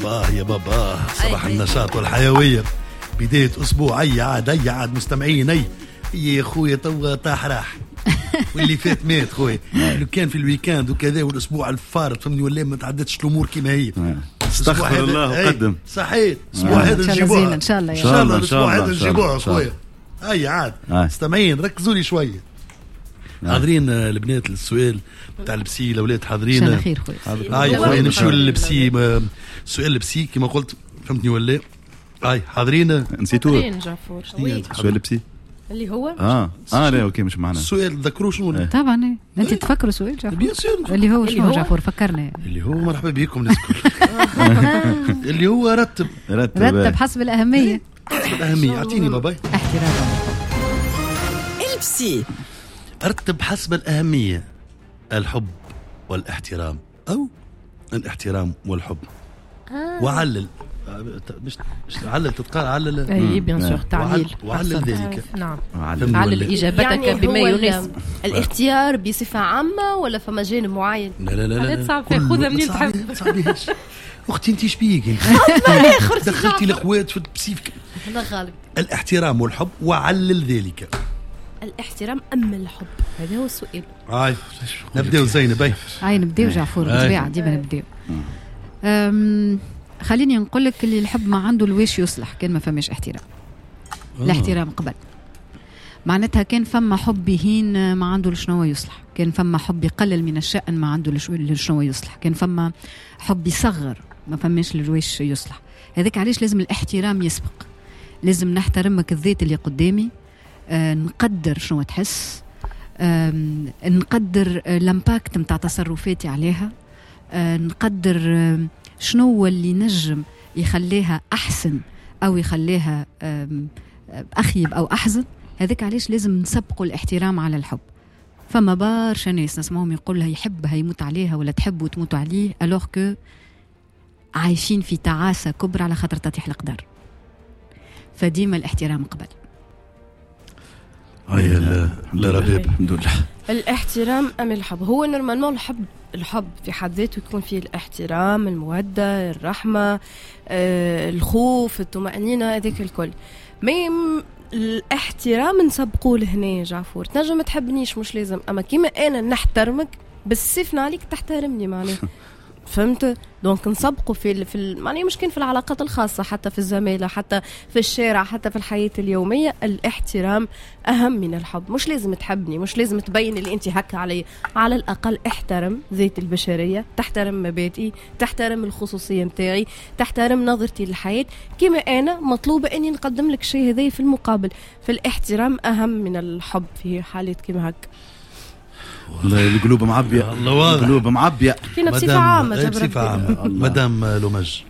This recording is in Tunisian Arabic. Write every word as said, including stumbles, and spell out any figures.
باه يا بابا، صباح النشاط والحيوية، بداية أسبوع. أي عاد أي عاد مستمعين، أي يا خويا توا طاح راح واللي فات مات خويا. لو كان في ال week-end وكذا والأسبوع الفارط فهمني ولا ما تعدتش الأمور كما هي. استغفر الله وقدم. صحيح الأسبوع هذا نجيبوها إن شاء الله، إن شاء الله الأسبوع هذا نجيبوها خويا. أي عاد مستمعين ركزوا لي شوية. حاضرين البنات للسؤال تاع ال psy؟ الاولاد حاضرين؟ ان شاء الله خير خويا. اي خويا نمشيو لل psy. سؤال ال psy كما قلت فهمتني ولا؟ اي حاضرين؟ نسيتوه. حاضرين جعفور. سؤال ال psy اللي هو اه اه لا OK مش معنا السؤال. تذكروا شنو؟ طبعا انت تفكروا سؤال جعفور. bien sûr اللي هو شنو جعفور؟ فكرنا اللي هو مرحبا بكم الناس الكل. اللي هو رتب رتب رتب حسب الاهمية. حسب الاهمية. اعطيني باباي احترام ال psy. رتب حسب الأهمية الحب والاحترام أو الاحترام والحب. آه. وعلل مش مش علل تتقال علل. اي bien sûr تعليل. وعلل ذلك. نعم علل إجابتك يعني بما يناسب. الاختيار بصفة عامة ولا فما جانب معين؟ لا لا لا لا صعب، خذها منين تحب. صعبيهاش اختي انت شبيك دخلتي الاخوات في ال psy. هذا غالب. الاحترام والحب وعلل ذلك. الاحترام أم الحب؟ هذا هو السؤال. هاي نبداو زينب. هاي هاي نبداو جعفور بالطبيعة ديما نبداو. خليني نقول لك اللي الحب ما عنده الواش يصلح كان ما فماش احترام. آه. الاحترام قبل. معناتها كان فما حب يهين ما عنده لشنو يصلح، كان فما حب يقلل من الشأن ما عنده لشنو يصلح، كان فما حب يصغر ما فماش لواش يصلح. هذاك علاش لازم الاحترام يسبق. لازم نحترمك الذات اللي قدامي، آه، نقدر شنو تحس، آه، نقدر ال impact نتاع تصرفاتي عليها، آه، نقدر آه، شنو هو اللي نجم يخليها احسن او يخليها آه، اخيب او احزن. هذاك علاش لازم نسبقوا الاحترام على الحب. فما برشا ناس نسمعهم يقول لها يحبها يموت عليها ولا تحب وتموت عليه، alors que عايشين في تعاسة كبرى على خاطر تطيح القدر. فديما الاحترام قبل. هاي لا لا ربيب الحمد لله. الاحترام ام الحب؟ هو normalement الحب الحب في حد ذاته يكون فيه الاحترام، المودة، الرحمة، آه، الخوف، الطمانينة، هذاك الكل. mais الاحترام نسبقوه لهنا جعفور. تنجم ما تحبنيش مش لازم، اما كيما انا نحترمك بالسيف عليك تحترمني معناها. فهمت؟ donc نسبقوا في في معناها مش كان في العلاقات الخاصة، حتى في الزمالة، حتى في الشارع، حتى في الحياة اليومية. الاحترام اهم من الحب. مش لازم تحبني، مش لازم تبين اللي انت هكا علي، على الاقل احترم ذاتي البشرية، تحترم مبادئي، تحترم الخصوصية نتاعي، تحترم نظرتي للحياة. كما انا مطلوبه اني نقدم لك شيء هذا في المقابل. فالاحترام اهم من الحب في حالات كما هكا. والله القلوب معبية، الله واضح القلوب معبية فينا بصفة عامة. بصفة عامة مدام لومج.